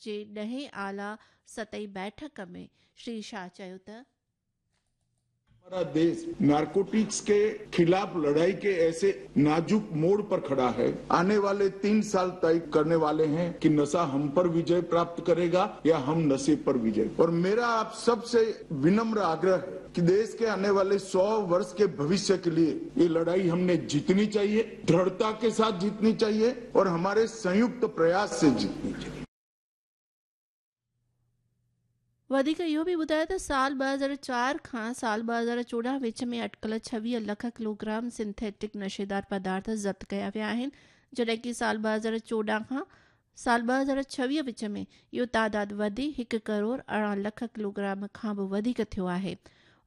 جي ڏهين اعليٰ سطحي بيٺڪ ۾ شري شاهه چيو ته. हमारा देश नारकोटिक्स के खिलाफ लड़ाई के ऐसे नाजुक मोड़ पर खड़ा है। आने वाले 3 साल तय करने वाले हैं कि नशा हम पर विजय प्राप्त करेगा या हम नशे पर विजय। और मेरा आप सबसे विनम्र आग्रह है कि देश के आने वाले 100 वर्ष के भविष्य के लिए ये लड़ाई हमने जीतनी चाहिए, दृढ़ता के साथ जीतनी चाहिए और हमारे संयुक्त प्रयास से जीतनी चाहिए। वधीक इहो बि ॿुधायो त साल 2004 खां साल 2014 विच में अटकल 26 लख किलोग्राम सिंथेटिक नशेदार पदार्थ ज़ब्त कया विया आहिनि, जॾहिं की साल 2014 खां साल 2026 विच में इहो तादाद वधी 1 करोड़ 18 लख किलोग्राम खां बि वधीक थियो आहे।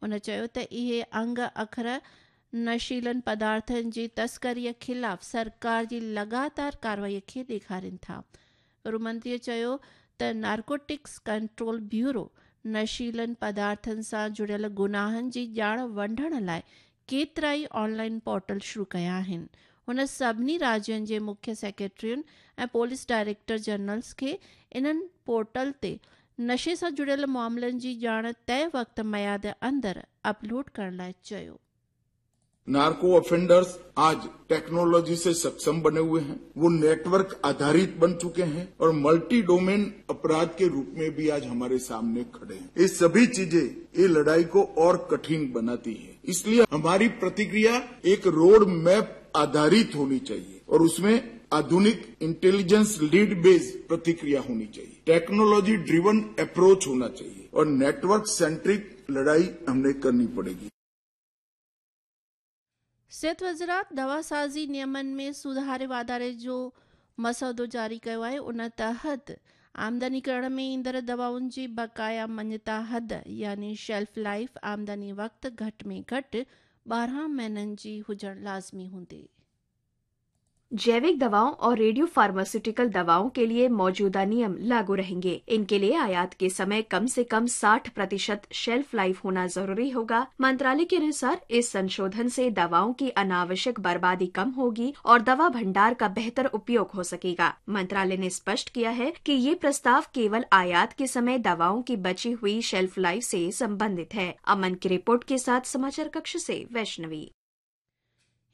हुन चयो त इहे अंग अखर नशीलनि पदार्थनि जी तस्करीअ ख़िलाफ़ सरकार जी लॻातार कार्रवाईअ खे ॾेखारीनि था। गृहमंत्रीअ चयो त नार्कोटिक्स कंट्रोल ब्यूरो नशीलनि पदार्थनि सां जुड़ियल गुनाहनि जी ॼाण वंडण लाइ केतिरा ई ऑनलाइन पोर्टल शुरू कया आहिनि। हुन सभिनी राज्यनि जे मुख्य सेक्रेटरियुनि ऐं पुलिस डायरेक्टर जनरल्स खे इन्हनि पोर्टल ते नशे सां जुड़ियल मामलनि जी ॼाण तय वक़्त मयाद अंदरि अपलोड करण लाइ चयो। नार्को ऑफेंडर्स आज टेक्नोलॉजी से सक्षम बने हुए हैं, वो नेटवर्क आधारित बन चुके हैं और मल्टी डोमेन अपराध के रूप में भी आज हमारे सामने खड़े हैं। ये सभी चीजें ये लड़ाई को और कठिन बनाती है। इसलिए हमारी प्रतिक्रिया एक रोड मैप आधारित होनी चाहिए और उसमें आधुनिक इंटेलिजेंस लीड बेस्ड प्रतिक्रिया होनी चाहिए, टेक्नोलॉजी ड्रिवन अप्रोच होना चाहिए और नेटवर्क सेंट्रिक लड़ाई हमने करनी पड़ेगी। सिहत वज़ारत दवासाज़ी नियमनि में सुधारे वाधारे जो मसौदो जारी कयो आहे। उन तहत आमदनी करण में ईंदड़ दवाउनि जी बकाया मञता हद यानी शेल्फ लाइफ आमदनी वक़्तु घटि में घटि 12 महीननि जी हुजणु लाज़मी हूंदी। जैविक दवाओं और रेडियो फार्मास्यूटिकल दवाओं के लिए मौजूदा नियम लागू रहेंगे। इनके लिए आयात के समय कम से कम 60% शेल्फ लाइफ होना जरूरी होगा। मंत्रालय के अनुसार इस संशोधन से दवाओं की अनावश्यक बर्बादी कम होगी और दवा भंडार का बेहतर उपयोग हो सकेगा। मंत्रालय ने स्पष्ट किया है कि ये प्रस्ताव केवल आयात के समय दवाओं की बची हुई शेल्फ लाइफ से संबंधित है। अमन की रिपोर्ट के साथ समाचार कक्ष से वैष्णवी।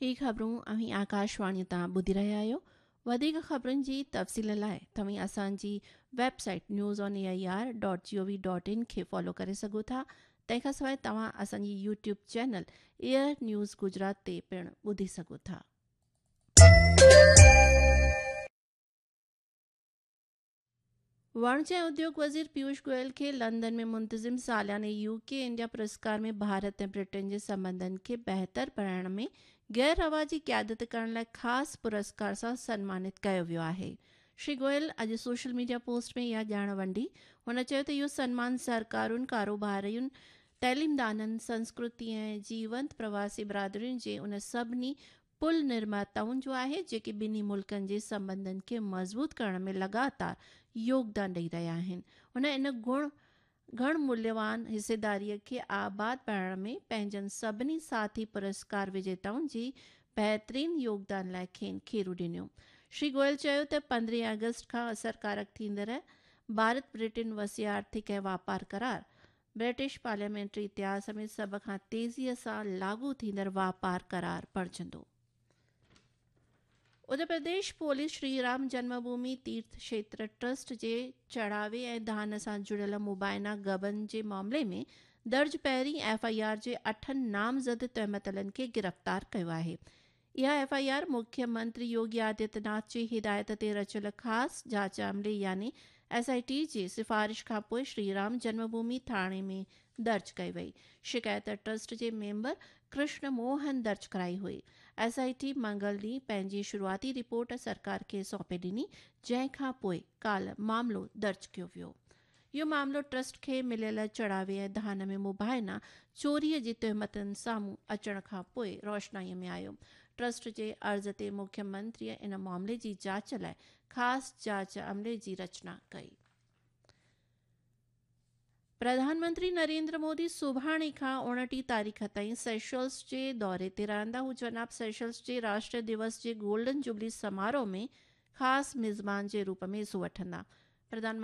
ही ख़बरूं अव्हीं आकाशवाणी तां ॿुधी रहिया आहियो। वधीक ख़बरुनि जी तफ़सील लाइ तव्हीं असांजी website news on A I R dot G O V dot in खे फॉलो करे सघो था। तंहिंखां सवाइ तव्हां असांजी YouTube channel air news Gujarat ते पिणु ॿुधी सघो था। वाणिज्य ऐं उद्योग वज़ीर पीयूष गोयल खे लंदन में मुंतज़िम सालाने यूके इंडिया पुरस्कार में भारत ऐं ब्रिटेन जे संबंधनि खे बहितर बणाइण में गैर रवाजी क़यादत करण लाइ ख़ासि पुरस्कार सां सन्मानित कयो वियो आहे। श्री गोयल अॼु सोशल मीडिया पोस्ट में इहा ॼाण वंडी। हुन चयो त इहो सन्मान सरकारुनि, कारोबारियुनि, तइलीमदाननि, संस्कृति ऐं जीवंत प्रवासी बिरादरियुनि जे उन सभिनी पुल निर्माताउनि जो आहे जेके ॿिन्ही मुल्कनि जे संबंधनि खे मज़बूत करण में लॻातार योगदान ॾेई रहिया आहिनि। हुन इन घण मूल्यवान हिस्सेदारीअ खे आबाद बणाइण में पंहिंजनि सभिनी साथी पुरस्कार विजेताउनि जी बहितरीन योगदान लाइ खेनि खेरू ॾिनो। श्री गोयल चयो त 15 अगस्त खां असरकारक थींदड़ भारत ब्रिटेन वसी आर्थिक ऐं वापार करार ब्रिटिश पार्लियामेंटरी इतिहास में सभ खां तेज़ीअ सां लागू थींदड़ वापार करार बणिजंदो। उत्तर प्रदेश पुलिस श्री राम जन्मभूमि तीर्थ क्षेत्र ट्रस्ट जे चढ़ावे ऐं दान सां जुड़ियल मुबाइना गबन जे मामले में दर्ज पहिरीं एफ I R जे 8 नामज़द तहमतलनि खे गिरफ़्तार कयो आहे। इहा एफ I R मुख्यमंत्री योगी आदित्यनाथ जी हिदायत ते रचियल ख़ासि जांच अमले यानी एस I T जी सिफारिश खां पोइ श्री राम जन्मभूमि थाणे में दर्ज कई वई। शिकायत ट्रस्ट जे मेंबर कृष्ण मोहन दर्ज कराई हुई। एस I T मंगल ॾींहुं पंहिंजी शुरूआती रिपोर्ट सरकार खे सौंपे ॾिनी, जंहिं खां पोइ काल्ह मामिलो दर्ज कयो वियो। इहो मामिलो ट्रस्ट खे मिलियल चढ़ावे ऐं धान में मुबाइना चोरीअ जी तहमतुनि साम्हूं अचण खां पोइ रोशनाईअ में आयो। ट्रस्ट जे अर्ज़ ते मुख्यमंत्रीअ इन मामले जी जांच लाइ ख़ासि जांच अमले जी रचना कई। प्रधानमंत्री नरेंद्र मोदी सुभाणे खां 29 तारीख़ ताईं सेशल्स जे दौरे ते रहंदा। हू जनाब सेशल्स जे राष्ट्रीय दिवस जे गोल्डन जुबली समारोह में ख़ासि मिज़मान जे रूप में हिसो वठंदा। प्रधानमंत्री